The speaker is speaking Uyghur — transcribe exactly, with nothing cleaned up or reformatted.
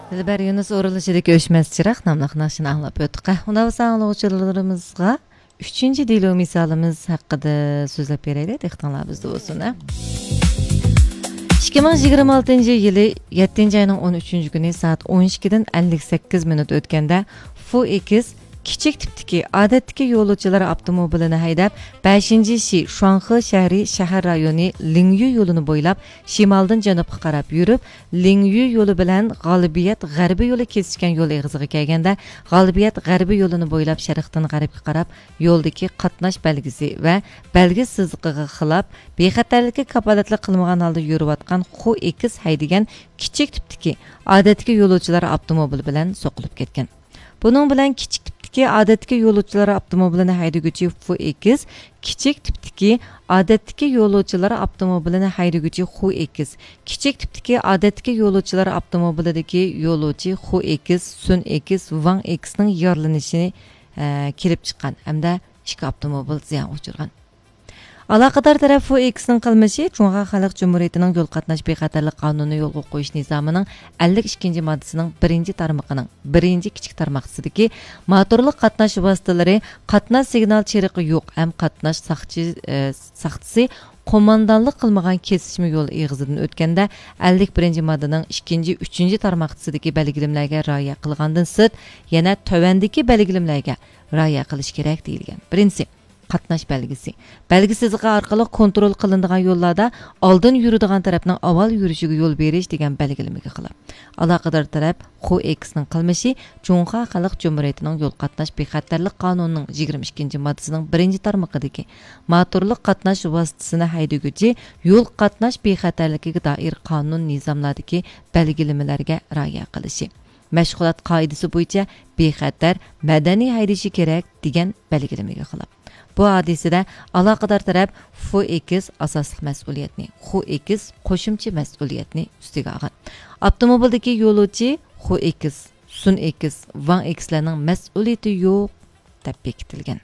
دىلبەر يۇنۇس ئورۇنلىشىدىكى ئۆچمەس چىراغ ناملىق ناخشىنى ئاڭلاپ ئۆتتۇق. ئۇنداق بولسا ئاڭلىغۇچىلىرىمىزغا ئۈچىنچى دېلو مىسالىمىز ھەققىدە سۆزلەپ بېرەيلى، دىققىتىڭلار بىزدە بولسۇن، ھە؟ ئىككى مىڭ يىگىرمە ئالتىنچى يىلى يەتتىنچى ئاينىڭ ئون ئۈچىنچى كۈنى سائەت ئون ئىككىدىن ئەللىك سەككىز مىنۇت ئۆتكەندە، فۇ ئېكس كىچىك تىپتىكى، ئادەتتىكى يولۇچىلار ئاپتوموبىلىنى ھەيدەپ، بەشىنچى شى شۇاڭخې شەھىرى شەھەر رايونى لىڭيۈ يولىنى بويلاپ، شىمالدىن جەنۇبقا قاراپ يۈرۈپ، لىڭيۈ يولى بىلەن غالىبىيەت غەربىي يولى كېسىشكەن يول ئېغىزىغا كەلگەندە، غالىبىيەت غەربىي يولىنى بويلاپ شەرقتىن غەربكە قاراپ يولدىكى قاتناش بەلگىسى ۋە بەلگە سىزىقىغا خىلاپ، بىخەتەرلىككە كاپالەتلىك قىلمىغان ھالدا يۈرۈۋاتقان خۇ ئېكس ھەيدىگەن كىچىك تىپتىكى ئادەتتىكى يولۇچىلار ئاپتوموبىلى بىلەن سوقۇلۇپ كەتكەن. بۇنىڭ بىلەن كىچىك تىپتىكى ئادەتتىكى يولۇچىلار ئاپتوموبىلىنى ھەيدىگۈچى فۇ ئېكس، كىچىك تىپتىكى ئادەتتىكى يولۇچىلار ئاپتوموبىلىنى ھەيدىگۈچى خۇ ئېكس، كىچىك تىپتىكى ئادەتتىكى يولۇچىلار ئاپتوموبىلىدىكى يولۇچى خۇ ئېكس، سۈن ئېكس، ۋاڭ ئېكسنىڭ يارىلىنىشى، ئە، كېلىپ چىققان ھەمدە ئىككى ئاپتوموبىل زىيانغا ئۇچرىغان. ئالاقىدار تەرەپ فۇ ئېكسنىڭ قىلمىشى جۇڭخۇا خەلق جۇمھۇرىيىتىنىڭ يول قاتناش بىخەتەرلىك قانۇنى يولغا قويۇش نىزامىنىڭ ئەللىك ئىككىنچى ماددىسىنىڭ بىرىنچى تارمىقىنىڭ بىرىنچى كىچىك تارماقچىسىدىكى موتورلۇق قاتناش ۋاسىتىلىرى قاتناش سىگنال چىرىقى يوق ھەم قاتناش ساقچى-، ئە، ساقچىسى قوماندانلىق قىلمىغان كېسىشمە يول ئېغىزىدىن ئۆتكەندە، ئەللىك بىرىنچى ماددىنىڭ ئىككىنچى، ئۈچىنچى تارماقچىسىدىكى بەلگىلىمىلەرگە رىئايە قىلغاندىن سىرت، يەنە تۆۋەندىكى بەلگىلىمىلەرگە رىئايە قىلىش كېرەك دېيىلگەن. بىرىنچىسى، قاتناش بەلگىسى. بەلگە سىزىقى ئارقىلىق كونترول قىلىنىدىغان يوللاردا ئالدىن يۈرىدىغان تەرەپنىڭ ئاۋۋال يۈرۈشىگە يول بېرىش دېگەن بەلگىلىمىگە خىلاپ. ئالاقىدار تەرەپ خۇ ئېكسنىڭ قىلمىشى جۇڭخۇا خەلق جۇمھۇرىيىتىنىڭ يول قاتناش بىخەتەرلىك قانۇنىنىڭ يىگىرمە ئىككىنچى ماددىسىنىڭ بىرىنچى تارمىقىدىكى موتورلۇق قاتناش ۋاسىتىسىنى ھەيدىگۈچى يول قاتناش بىخەتەرلىكىگە دائىر قانۇن نىزاملاردىكى بەلگىلىمىلەرگە رىئايە قىلىشى، مەشغۇلات قائىدىسى بويىچە بىخەتەر، مەدەنىي ھەيدىشى كېرەك دېگەن بەلگىلىمىگە خىلاپ. بۇ ھادىسىدە ئالاقىدار تەرەپ فۇ ئېكس ئاساسلىق مەسئۇلىيەتنى، خۇ ئېكس قوشۇمچە مەسئۇلىيەتنى ئۈستىگە ئالغان. ئاپتوموبىلدىكى يولۇچى خۇ ئېكس، سۈن ئېكس، ۋاڭ ئېكسلەرنىڭ مەسئۇلىيىتى يوق دەپ بېكىتىلگەن.